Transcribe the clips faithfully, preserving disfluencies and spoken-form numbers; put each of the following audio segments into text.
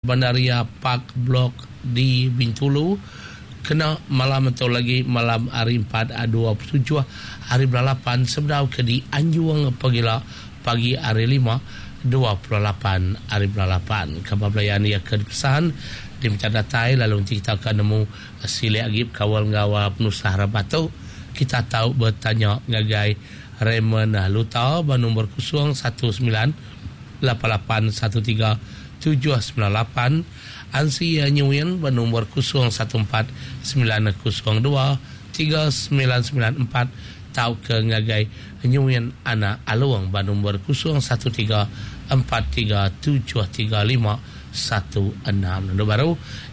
Bandaria Park Blok di Bintulu kena malam atau lagi malam hari empat dua puluh tujuh hari bulan lapan sebedau ke di Anjung pagila pagi hari lima dua puluh lapan hari bulan lapan. Kabar belayan ia ke dipesan diminta datai lalu nanti kita akan nemu silik lagi kawal ngawa penusah rabatu. Kita tahu bertanya ngagai Raymond Luta bernombor kosong satu sembilan lapan lapan satu tiga tujuh sembilan lapan, Ansi Nyuin bernombor kosong satu empat sembilan kosong dua tiga sembilan sembilan empat, tau ke ngagai Nyuin Anak Aluang bernombor kosong satu tiga empat tiga tujuh tiga lima satu enam. Nombor baru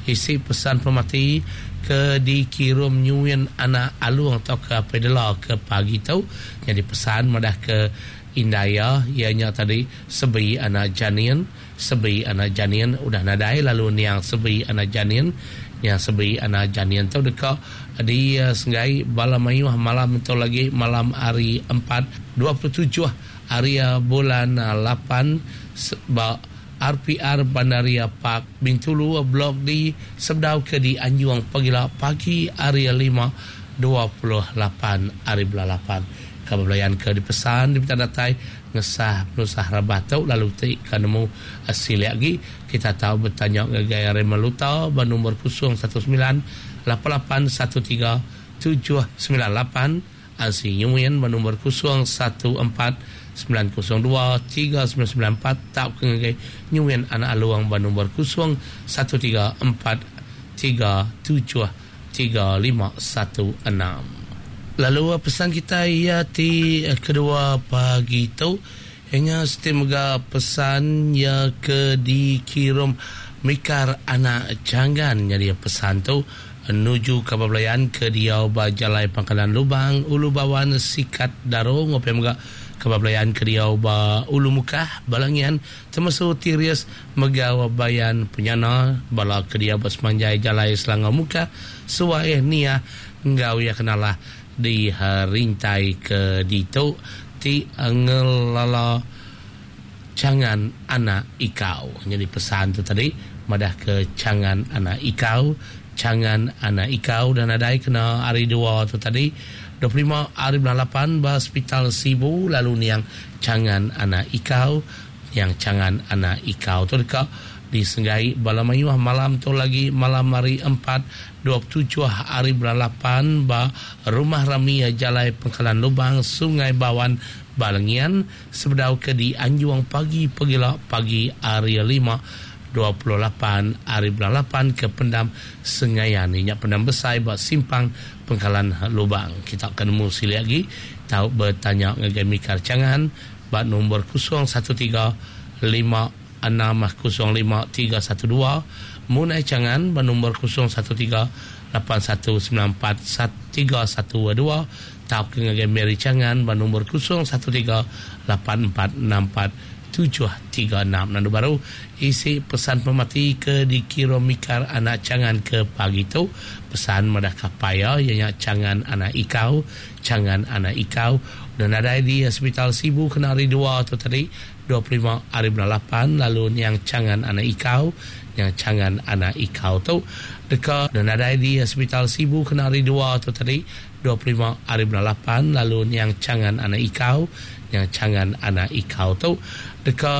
isi pesan pemati ke dikirim Nyuin Anak Aluang atau ke Pedela ke pagi tu. Jadi pesan madah ke Indaya ianya tadi sebi anak janin, sebi anak janin udah nadai lalu niang sebi anak janin, niang sebi anak janin tu dekat di uh, Senggai bala mayuh malam tu lagi malam hari empat dua puluh tujuh hari bulan lapan ba R P R Bandaria Park Bintulu Blok D sebedau ke di Anjung pagila pagi hari lima dua puluh lapan hari bulan lapan. Kabar belayan ke dipesan diminta datai ngesah penusah rabah tu lalu ti kanemu silik lagi kita tahu bertanya ngagai Raymond Luta bernombor kosong satu sembilan lapan lapan satu tiga tujuh sembilan lapan, Ansi Nyuin bernombor kosong satu empat sembilan kosong dua tiga sembilan sembilan empat, tak ke ngagai Nyuin Anak Aluang bernombor kosong satu tiga empat tiga tujuh tiga lima satu enam. Lalu pesan kita ia ti kedua pagi tu hanya setimga pesan ya ke dikirim Mikar Anak Janggan. Jadi pesan tu menuju ke belayan ke dia bajalai Pangkalan Lubang Ulu Bawan Sikat Darung ngopi mega ke belayan ke dia ba Ulu Mukah Balangian termasuk Tirias Megawa Bayan Penyana bala ke dia bersemanjai Jalai Selangor Mukah Suai Nia ngau ya kenalah di rintai ke ditu ti ngelala cangan anak ikau. Jadi pesan tu tadi madah ke cangan anak ikau, cangan anak ikau dan adai kena hari dua tu tadi dua puluh lima hari bulan lapan ba hospital Sibu lalu niang cangan anak ikau, yang cangan anak ikau tu dekat disenggai bala mayuh malam tu lagi malam hari empat dua puluh tujuh hari bulan lapan ba rumah rami Jalai Pangkalan Lubang Sungai Bawan Balangian sebedau ke di Anjuang pagi pagila pagi hari lima dua puluh lapan hari bulan lapan ke Pendam Sengayan inyak Pendam Besai ba Simpang Pangkalan Lubang. Kita akan nemu silik lagi tahu bertanya ngagai Mikar Cangan ba nombor kosong satu tiga lima enam kosong lima tiga satu dua, Munai Cangan bernombor kosong satu tiga lapan satu sembilan empat tiga satu dua, tau ke ngagai Mary Cangan bernombor kosong satu tiga lapan empat enam empat tujuh tiga enam. Nandu baru isi pesan pemati ke dikira Mikar Anak Cangan ke pagi tu. Pesan madah kapaya ianya Cangan Anak Ikau, Cangan Anak Ikau dan ada di Hospital Sibu kena hari dua tu tadi dua puluh lima hari bulan lapan lalu yang Cangan Anak Ikau, yang Cangan Anak Ikau tu dekat dan ada di Hospital Sibu kena hari dua tu tadi dua puluh lima hari bulan lapan lalu yang Cangan Anak Ikau, yang Cangan Anak Ikau tu dekat